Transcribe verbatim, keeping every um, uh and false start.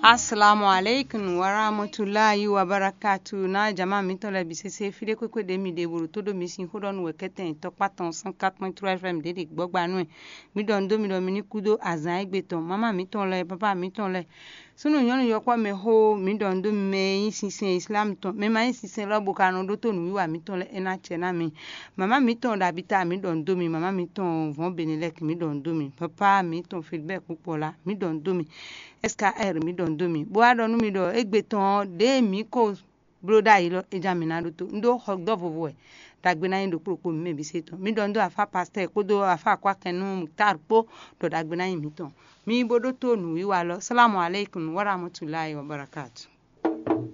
Assalamu alaikum warahmatullahi wabarakatu. Na jama mitɔn lɛ bi sese fi ɖe kwekwe ɖe mi ɖe bolo to ɖo mi sin xó ɖɔ nu wɛ kɛtɛn tɔkpa tɔn san katɔn trois fm ɖe ɖe gbɔgba nu ɛ. Mi ɖɔ nu dó mi ɖɔ mi ní kú dó azan egbe tɔn. Mama mitɔn lɛ, papa mitɔn lɛ, súnnu nyɔnu yɔkpɔ mɛ xó, mi ɖɔ nu dó mi mɛ e nyí sinsɛn islam tɔn, mɛ ma nyí sinsɛn lɔ bo ka nɔ ɖótó nǔwiwa mitɔn lɛ, é ná acɛ ná mi. Mama mitɔn ɖo abita, mi ɖɔ nu dó mi. Mama mitɔn vɔn benelɛk, mi ɖɔ nu dó mi. Papa mitɔn filibɛk kpukpɔ la, mi ɖɔ nu dó mi. Skr, mi ɖɔ nu dó mi, bó wá ɖɔ nú mi ɖɔ égbé tɔn ɔ́, ɖěe mǐ ko bló ɖ'ayǐ lɔ, é ján mǐ ná ɖótó. Un ɖó xɔ dɔ́ vovo wɛ. Ɖagbe ná nyí ɖokpó ɖokpó mǐ mɛ bǐ se tɔn. Mi ɖɔ nu dó afá pastɛ́ɛ kpódó afá akwákɛn nú Muktar kpó, ɖɔ ɖagbe ná nyí mǐtɔn. Mi bó ɖótó nǔwiwa lɔ. Salamu aleykum warahmatulahi wabarakatu.